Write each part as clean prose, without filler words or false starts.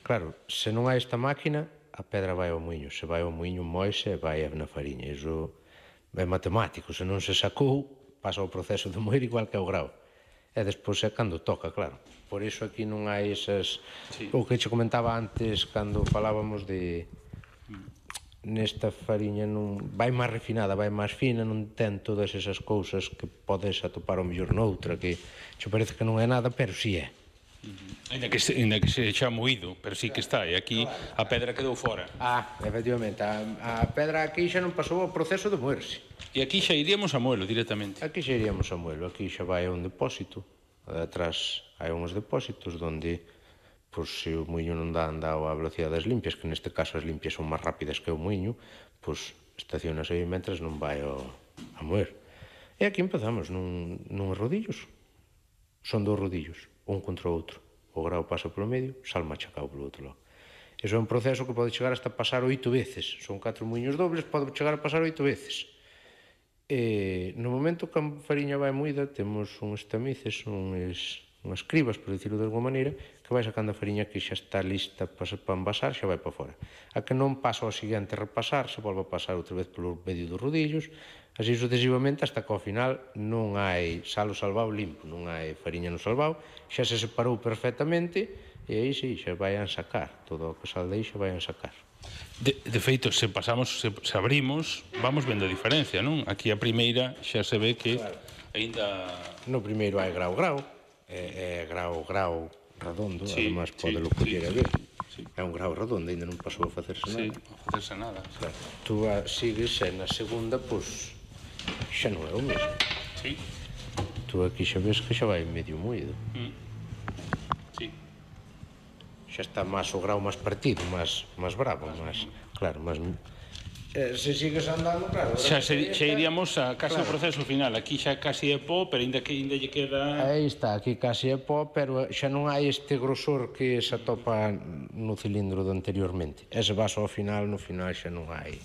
Claro, se non hai esta máquina, a pedra vai ao muiño. Se vai ao muiño, moise e vai na fariña. Iso é matemático. Se non se sacou, pasa o proceso de moer igual que o grao. E despois é cando toca, claro. Por iso aquí non hai esas... O que che comentaba antes, cando falábamos de... Nesta fariña non vai máis refinada, vai máis fina, non ten todas esas cousas que podes atopar ao mellor noutra, que che parece que non é nada, pero si é. Ainda que se xa moído, pero sí que está, e aquí a pedra quedou fora. Efectivamente, a pedra aquí xa non pasou o proceso de moerse. E aquí xa iríamos a moelo directamente. Aquí xa iríamos a moelo, aquí xa vai a un depósito, atrás hai uns depósitos onde, pois, se o muiño non dá andado a velocidade das limpias, que neste caso as limpias son máis rápidas que o muiño, pois estacionas aí mentres non vai a moer. E aquí empezamos nuns rodillos. Son 2 rodillos, un contra o outro. O grao pasa polo medio, sal machacado polo outro lado. Iso é un proceso que pode chegar hasta pasar 8 veces. Son 4 muiños dobles, pode chegar a pasar 8 veces. No momento que a fariña vai moída, temos uns tamices, unhas cribas, por dicirlo de alguma maneira, que vai sacando a fariña que xa está lista para envasar, xa vai para fora. A que non pasa ao seguinte repasar, se volve a pasar outra vez polo medio dos rodillos, así sucesivamente, hasta que ao final non hai salo salvado limpo, non hai fariña no salvado, xa se separou perfectamente, e aí sí, xa vai a sacar, todo o que sal de aí xa vai a sacar. De feito, se abrimos, vamos vendo a diferencia, non? Aquí a primeira xa se ve que aínda... No primeiro hai grau, é grau redondo, además podelo coller a ver. É un grau redondo, ainda non pasou a facerse nada. Sí, a facerse nada. Tú sigues e na segunda, pois, xa non é o mesmo. Sí. Tú aquí xa ves que xa vai medio moído. Sí. Xa está máis o grau máis partido, máis bravo, máis, claro, máis... Se sigues andando, claro... Xa iríamos a casi o proceso final. Aquí xa casi é pó, pero ainda lle queda... Aí está, aquí casi é pó, pero xa non hai este grosor que se atopa no cilindro do anteriormente. Ese vaso ao final, no final xa non hai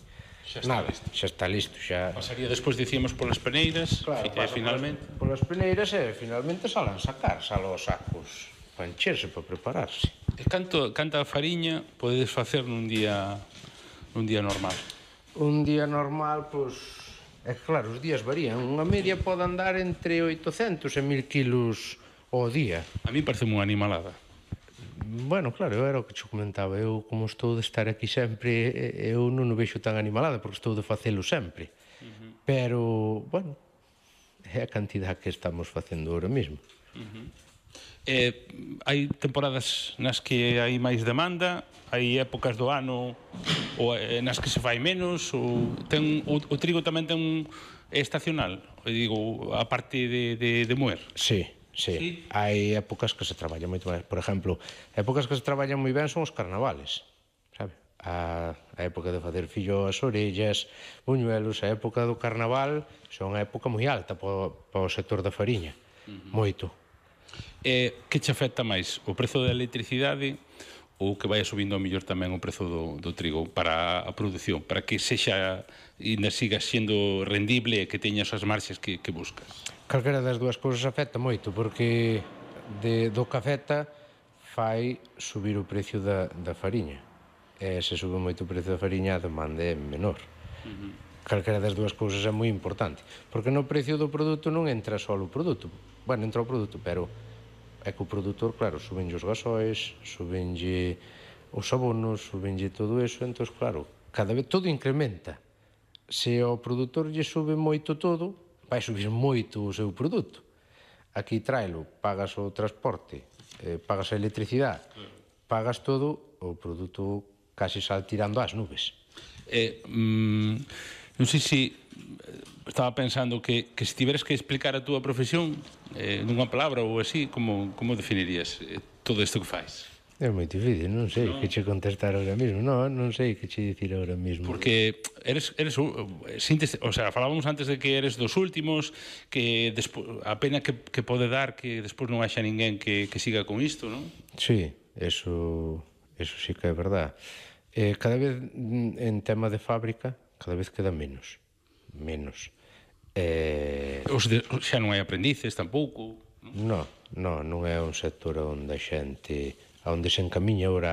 nada, xa está listo. Pasaría despois, dicíamos, polas peneiras, e finalmente... Polas peneiras e finalmente salan sacar, salan os sacos para encherse, para prepararse. E canta fariña podedes facer nun día normal? Un día normal, pois, é claro, os días varían. Unha media pode andar entre 800 e 1000 kilos ao día. A mí parece unha animalada. Bueno, claro, era o que te comentaba. Eu, como estou de estar aquí sempre, eu non o vexo tan animalada, porque estou de facelo sempre. Pero, bueno, é a cantidad que estamos facendo ahora mesmo. Hai temporadas nas que hai máis demanda, hai épocas do ano nas que se fai menos, o trigo tamén ten estacional, digo, a parte de moer. Sí. Hai épocas que se traballan moito máis. Por exemplo, épocas que se traballan moi ben son os carnavales, sabe? A época de facer filloas, orellas, buñuelos, a época do carnaval son a época moi alta para o sector da fariña, moito. Que che afecta máis, o prezo da electricidade ou que vai subindo ao mellor tamén o prezo do trigo para a produción, para que sexa e ainda siga sendo rendible e que teñas as marxes que buscas? Calquera das dúas cousas afecta moito, porque do que afecta fai subir o precio da fariña. E se sube moito o precio da fariña, a demanda é menor. Calquera das dúas cousas é moi importante, porque no precio do produto non entra só o produto. Bueno, entra o produto, pero é que o produtor, claro, subenlle os gasóis, subenlle os abonos, subenlle todo eso, entón, claro, cada vez todo incrementa. Se ao produtor lle sube moito todo, vai subir moito o seu produto. Aquí tráelo, pagas o transporte, pagas a electricidade, pagas todo, o produto casi sal tirando ás nubes. Non sei se estaba pensando que se tiveres que explicar a túa profesión nunha palabra ou así, como definirías todo isto que fais? É moi difícil, non sei que che contestar ahora mismo. Non sei que che dicir ahora mismo. Porque eres o sea, falábamos antes de que eres dos últimos, que a pena que pode dar que despois non haxa ninguén que siga con isto, non? Sí, eso sí que é verdad. Cada vez en tema de fábrica, cada vez queda menos. Xa non hai aprendices tampouco? Non é un sector onde a xente, onde se encamiña ahora